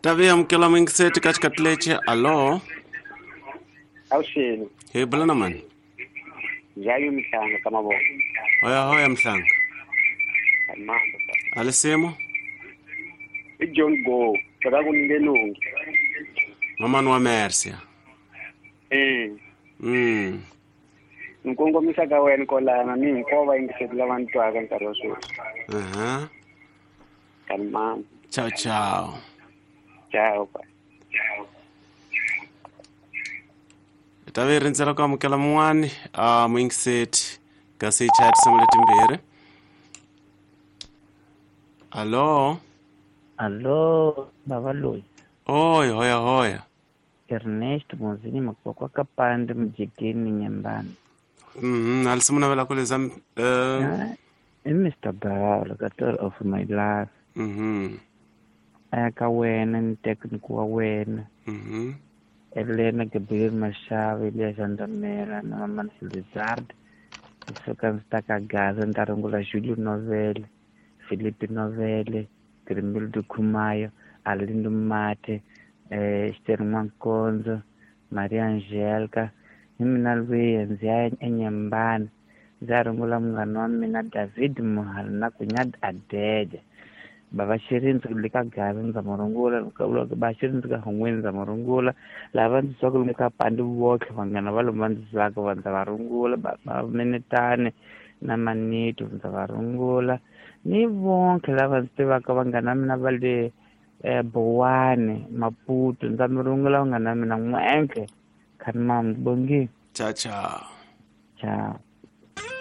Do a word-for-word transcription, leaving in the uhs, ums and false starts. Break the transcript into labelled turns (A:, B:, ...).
A: Ta vi amukela muyingiseti ka xikati lexi. Alo?
B: Avuxeni.
A: Hi bula na mani?
B: Jayu Mhlanga ka mavoko.
A: Hoya hoya Mhlanga.
B: Mambo.
A: Alisimo?
B: I John Go, ka ku ngelungi.
A: Mamani wa Mercia.
B: Eh.
A: Mm.
B: Ni kongomisa ka wena kolana ni hinkwavo vayingiseri lava ni twaka nkarhi wa sweswi.
A: Aha.
B: Kalmani.
A: Ciao ciao.
B: Ciao.
A: Ta vi rindzela ku amukela mun'wani a muyingiseti kasi yi chaya tinsimu letimbirhi. Alo?
C: Alo, bava loyi.
A: Oy, hoya hoya.
C: Ernest Mozini Makokwa Kapande Mjikeni Nyembani.
A: Mhm, alisimu navela ku leza eh
C: I Mister Bawla ka of my life.
A: Mhm.
C: Aya ka wena ni technical wa wena.
A: Mhm.
C: Elena Gabriel Mashava, Elias Andamela na Mama Lizard. Suka ndzi ta ka Gaza ndzi ta rungula Julio Novele, Felipe Novele, Grimildo Khumayo, Arlindo Mate, eh Esther Nwankonzo, Maria Angelica, hi mina lwiya ndzi ya eNyembani ndzi ya rungula munghana wa mina David Muhari na Kunyad Adeja. Bava Xirindzi le ka Gaza ndza mu rungula, ba Xirindzi ka Hungwini ndza mu rungula, lava ndzi twaka lomu ka Pandi votlhe vanghana va lomu va ndzi twaka va ndza va rungula, ba Minetani na Manito ndza va rungula, ni vonke lava ndzi tivaka vanghana mina va le eh Bowani, Maputo ndza mi rungula vanghana mina n'wenke. Khanimam bongi.
A: Ciao ciao.
C: Ciao.